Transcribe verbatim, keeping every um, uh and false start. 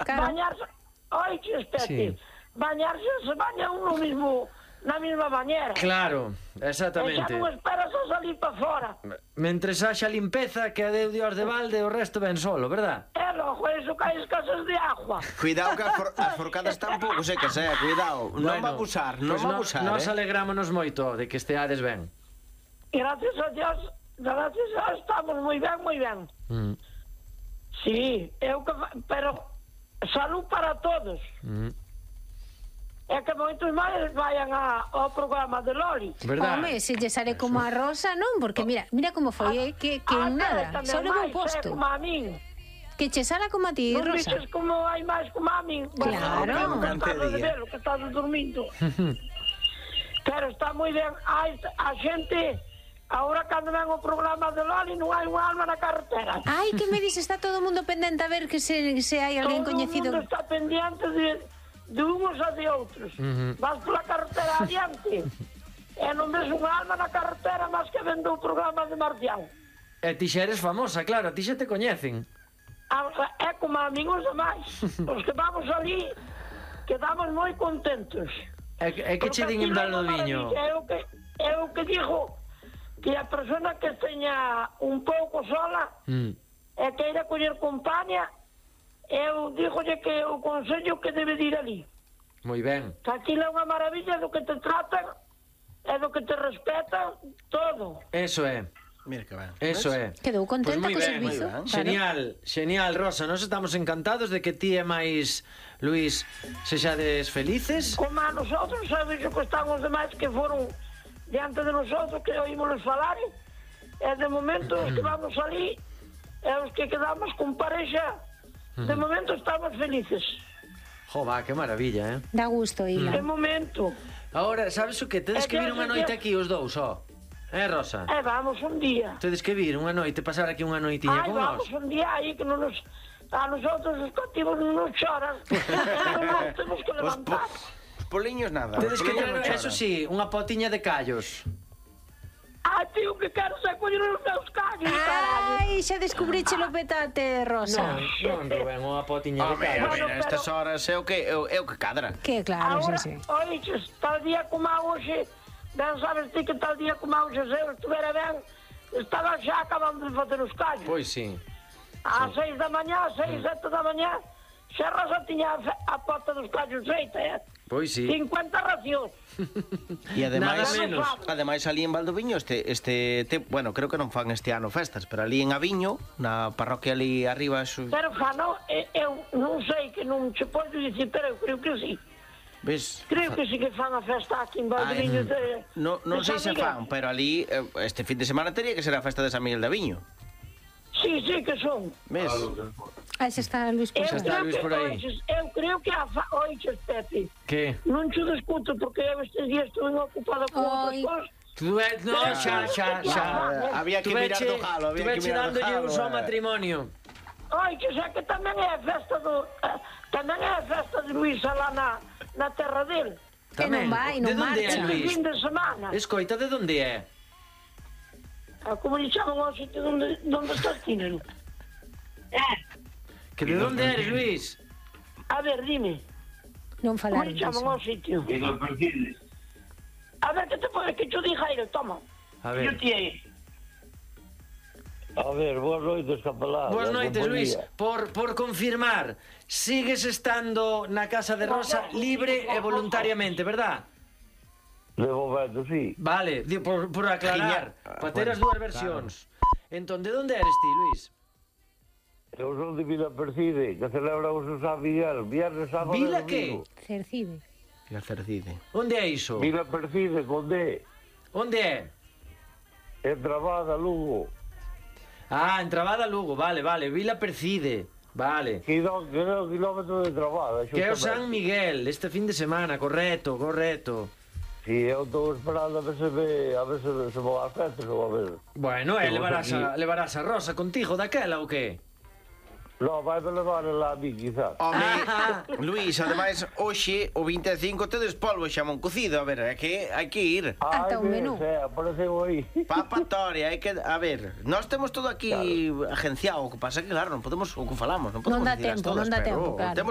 bañarse, oiche, espete, bañarse se baña uno mismo na mesma bañera. Claro, exactamente. E xa non esperas a salir para fora. Mentres haxa limpeza, que a deu Dios de balde, o resto ven solo, verdad? E logo, eso cae escasas de agua. Cuidado que as, for as forcadas están pouco secas, eh, cuidado. Non Bueno, va a abusar, non pues va a no, abusar, nos eh. alegrámonos moito de que esteades ben. Gracias a Dios, gracias a Dios, estamos moi ben, moi ben. Mm. Sí, eu que... pero salud para todos. Mm. É que moitos máis vayan a, ao programa de Loli. Verdad? Home, se lle sale como a Rosa, non? Porque mira, mira como foi, eh? Que, que Ah, nada, tamén só levou máis, posto. é como a min. Que che sala como a ti, Non Rosa. dices como hai máis como a min. Claro. Bueno, non estás de velo, que estás dormindo. Pero está moi ben. Hai a xente... Ahora, cando ven o programa de Loli, non hai unha alma na carretera. Ai, que me dices, está todo o mundo pendente a ver que se, se hai alguén Todo coñecido. o mundo está pendiente de, de uns a de outros. Uh-huh. Vas pola carretera adiante e non ves unha alma na carretera máis que vendo o programa de Marcial. E ti xa eres famosa, claro, a ti xa te coñecen. É como a min os demais. Os que vamos ali quedamos moi contentos. E, e que che din en Valdoviño? Eu que, eu que digo que a persona que teña un pouco sola Mm. e queira coller compañía, eu dígolle que o consello que debe de ir ali. Moi ben. Que aquilo é unha maravilla do que te tratan e do que te respetan todo. Eso é. Mira que ben. Eso é. Quedou contenta Pois moi co ben, servizo. moi ben. Claro. Genial, genial, Rosa. Nos estamos encantados de que ti e máis Luís sexades felices. Como a nosotros, sabes o que están os demais que foron diante de nosotros, que oímosles falar, e de momento os que vamos ali e os que quedamos con parexa, de momento estamos felices. Jo, va, que maravilla, eh? Dá gusto, De Ila. momento. Ahora, sabes o que? Tedes É que que vir unha hace noite que- aquí os dous, ó. Eh, Rosa? E vamos un día. Tedes que vir unha noite, pasar aquí unha noitiña Ai, con vamos nós. un día aí que non nos... A nosotros os cativos non nos choran. Non nos temos que Os, po levantar. os poliños nada. Tedes os que poliños non traer, eso choran. sí, unha potiña de callos. Ai, tío, que quero ser coller os meus callos, caralho. Ai, xa descubriche o petate, Rosa. Non, Rubén, unha potiña de Home, a callos. ver, a estas horas é o que, é o, é o que cadra. Que claro, Ahora, sí, sí. oiches, tal día como a hoxe, ben sabes ti que tal día como a hoxe, se eu estuvera ben, estaba xa acabando de facer os callos. Pois sí. Ás seis da mañá, seis, sete da mañá, xa Rosa tiña a, fe- a pota dos callos feita, eh? Pois sí. cincuenta racións. E ademais, Nada menos. ademais ali en Valdoviño este este te, bueno, creo que non fan este ano festas, pero ali en Aviño, na parroquia ali arriba, su, Pero fano, eh, eu non sei que non se pode dicir, pero eu creo que sí. ves? Creo que sí que fan a festa aquí en Valdoviño de... No, non de sei San se Miguel. fan, pero ali eh, este fin de semana teria que ser a festa de San Miguel de Aviño. Sí, sí que son. Ves? Aí se está Luis Eu Pozo. está creo Luis que, por aí. oiches, eu creo que a fa... Oiches, Pepe, Que? non te discuto porque eu estes días estuve ocupada con outras Ai. cosas. Tú é... No, xa, xa, xa. Ah, había que mirar do jalo, había que mirar do dándolle jalo. uso ao eh. matrimonio. Oiches, é que tamén é a festa do... eh, tamén é a festa de Luisa lá na, na terra dele. Que non vai, non De onde é, marcha. Este Luis? fin de semana. Escoita, de onde é? Ah, como lle chaman ao sitio onde, onde estás ti, neno? Eh, Que de onde eres, Luis? a ver, dime. Non Como falar lle chaman disso. ao sitio? A ver, que te pode que yo diga ele, toma. A ver. Yo ti aí. A ver, boas noites, capelán. Boas da noites, Luis. compañía. Por, por confirmar, sigues estando na casa de Rosa libre e voluntariamente, verdad? De momento, sí. Vale, di- por, por aclarar, Giña- para ter as dúas versións. Entón, de onde eres ti, Luis? Eu son de Vila Percide, que celebramos o San Miguel, viernes, sábado Vila e que? domingo. Cercide. E a Cercide. Onde é iso? Vila Percide, con D, Onde é? en Trabada, Lugo. Ah, en Trabada, Lugo, vale, vale, Vila Percide. Vale. Quiló- quiló- Kilómetro de Trabada. Que é o xustamente. San Miguel, este fin de semana, correcto, correcto. Si, eu estou esperando a ver se ve, a ver se, se vou ás festas ou a ver. Bueno, e Estamos levarás a, aquí. levarás a Rosa contigo daquela ou que? No, vai me levar lá a mí, quizás. Home, Ah. Luís, ademais, hoxe, o vinte e cinco, tedes polvo xamón cocido. A ver, é que hai que ir. Ata un menú. Sei, apareceu aí. Papatoria, hai que... A ver, nós temos todo aquí agenciado. O que pasa é que, claro, non podemos o que falamos. Non podemos Non dá dicirlas tempo, todas, non dá pero tempo, claro. Temos